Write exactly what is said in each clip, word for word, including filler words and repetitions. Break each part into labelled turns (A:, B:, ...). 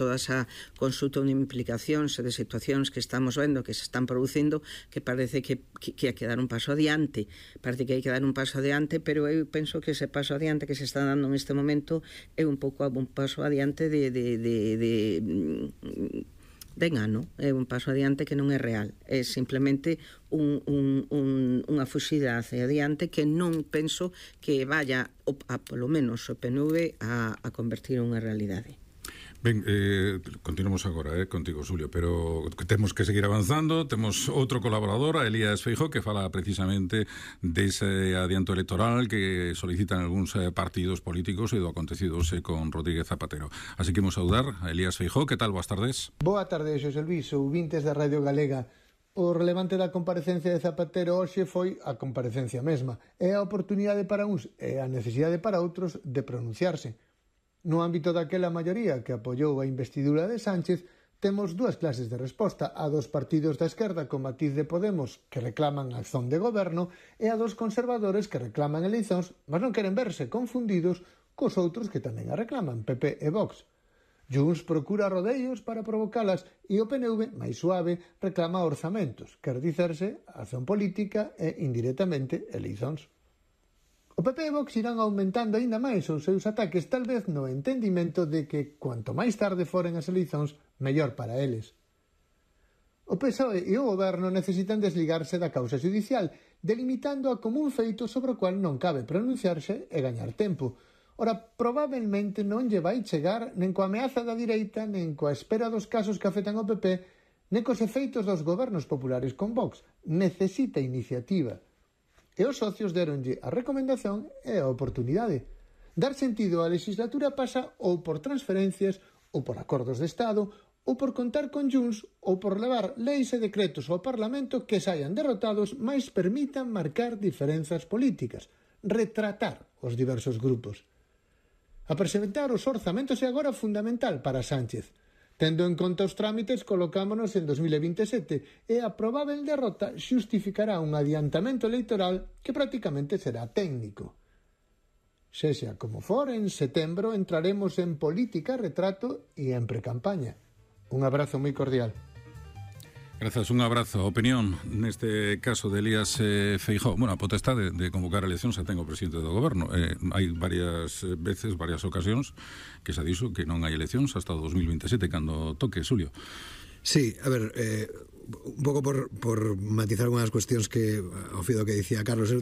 A: toda esa consulta de implicacións e de situacións que estamos vendo que se están producindo, que parece que, que, que hai que dar un paso adiante, parece que hai que dar un paso adiante, pero eu penso que ese paso adiante que se está dando neste momento é un pouco un paso adiante de, de, de, de de engano, é un paso adiante que non é real, é simplemente un, un, un, unha fuxida hacia adiante que non penso que vaya a, a polo menos o P N V a, a convertir en unha realidade.
B: Ben, eh, continuamos agora eh, contigo, Xulio, pero temos que seguir avanzando. Temos outro colaborador, a Elías Feijóo, que fala precisamente dese adianto electoral que solicitan algúns eh, partidos políticos e do acontecido xe con Rodríguez Zapatero. Así que imos saudar a Elías Feijóo. Que tal? Boas tardes.
C: Boa tarde, Xosé Luís, ouvintes da Radio Galega. O relevante da comparecencia de Zapatero hoxe foi a comparecencia mesma. É a oportunidade para uns e a necesidade para outros de pronunciarse. No ámbito daquela maioría que apoiou a investidura de Sánchez, temos dúas clases de resposta, a dos partidos da esquerda con matiz de Podemos que reclaman acción de goberno e a dos conservadores que reclaman eleicións, mas non queren verse confundidos cos outros que tamén a reclaman, P P e Vox. Junts procura rodeos para provocalas e o P N V, máis suave, reclama orzamentos, quer dicerse, acción política e, indirectamente, eleicións. O P P e Vox irán aumentando aínda máis os seus ataques, tal vez no entendimento de que cuanto máis tarde foren as eleicións, mellor para eles. O P S O E e o Goberno necesitan desligarse da causa judicial, delimitando-a como un feito sobre o cual non cabe pronunciarse e gañar tempo. Ora, probablemente non lle vai chegar nen coa ameaza da direita, nen coa espera dos casos que afectan ao P P, nen cos efeitos dos gobernos populares con Vox. Necesita iniciativa. E os socios deronlle a recomendación e a oportunidade. Dar sentido á legislatura pasa ou por transferencias, ou por acordos de Estado, ou por contar con Junts, ou por levar leis e decretos ao Parlamento que saian derrotados, mais permitan marcar diferenzas políticas, retratar os diversos grupos. A presentar os orzamentos é agora fundamental para Sánchez. Tendo en conta os trámites, colocámonos en dos mil vinte e sete e a probável derrota xustificará un adiantamento electoral que prácticamente será técnico. Sexa como for, en setembro entraremos en política, retrato e en precampaña. Un abrazo moi cordial.
B: Grazas, un abrazo. Opinión neste caso de Elías eh, Feijóo. Bueno, a potestade de, de convocar eleccións xa ten o presidente do goberno. Eh, hai varias veces, varias ocasións que xa dixo que non hai eleccións hasta o dos mil vinte e sete, cando toque, Xulio.
D: Sí, a ver, eh, un pouco por, por matizar unhas cuestións que ao fido que dicía Carlos, o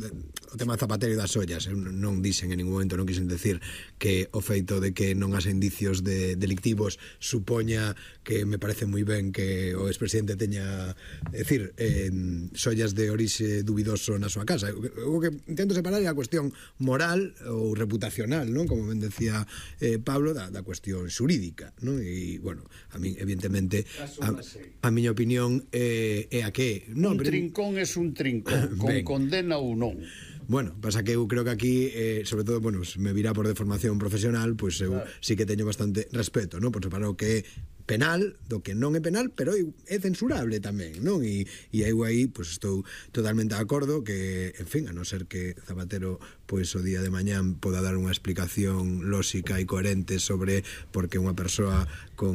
D: tema Zapatero e das ollas, non dixen en ningún momento, non quixen decir que o feito de que non haxa indicios de delictivos supoña que me parece moi ben que o expresidente teña, é dicir, eh, sollas de orixe dubidoso na súa casa. O que intento separar é a cuestión moral ou reputacional, non? Como ben decía eh, Pablo, da, da cuestión xurídica, non? E, bueno, a mí, evidentemente, a, a miña opinión é, é a que
E: non, un pero... trincón é un trincón con ben. Condena ou non.
D: Bueno, pasa que eu creo que aquí eh, sobre todo, bueno, me virá por deformación profesional, pois pues eu claro. Sí que teño bastante respeto, non? Por separar o que é penal do que non é penal, pero é censurable tamén, non? E, e eu aí, pois pues, estou totalmente de acordo que, en fin, a non ser que Zapatero, pois pues, o día de mañán poda dar unha explicación lóxica e coherente sobre por que unha persoa con,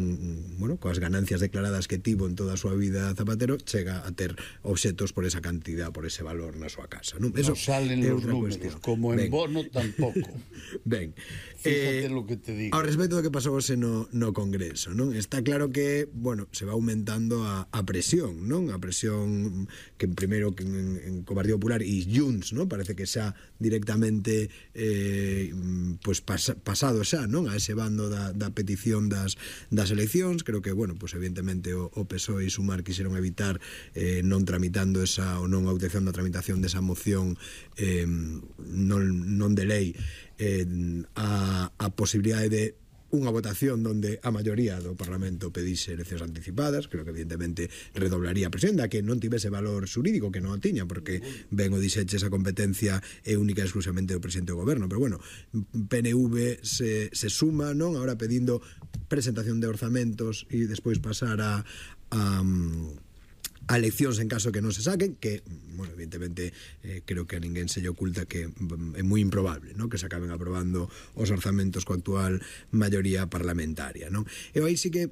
D: bueno, coas ganancias declaradas que tivo en toda a súa vida Zapatero chega a ter obxetos por esa cantidad, por ese valor na súa casa, non? Eso
E: non salen
D: é
E: os números,
D: cuestión.
E: Como en
D: ben.
E: Bono tampouco.
D: Ben.
E: Fíjate
D: eh,
E: lo que te digo.
D: Ao respecto do que pasou hoxe no, no Congreso, non? Está claro que, bueno, se va aumentando a, a presión, non? A presión que primeiro que en, en co Partido Popular e Junts, non? Parece que xa directamente eh, pues pas, pasado xa, non? A ese bando da, da petición das, das eleccións. Creo que, bueno, pues evidentemente o, o P S O E e Sumar quixeron evitar eh, non tramitando esa, ou non autorizando a tramitación desa moción eh, non, non de lei eh, a, a posibilidade de unha votación donde a maioría do Parlamento pedise eleccións anticipadas. Creo que evidentemente redoblaría a presión da que non tivese valor xurídico, que non o tiña, porque ben o dixeche, esa competencia é única e exclusivamente do presidente do goberno. Pero bueno, P N V se, se suma, non? Ahora pedindo presentación de orzamentos e despois pasar a, a a eleccións en caso que non se saquen, que, bueno, evidentemente eh, creo que a ninguén se lle oculta que é moi improbable, ¿no? Que se acaben aprobando os orzamentos coa actual maioría parlamentaria, non? E aí sí que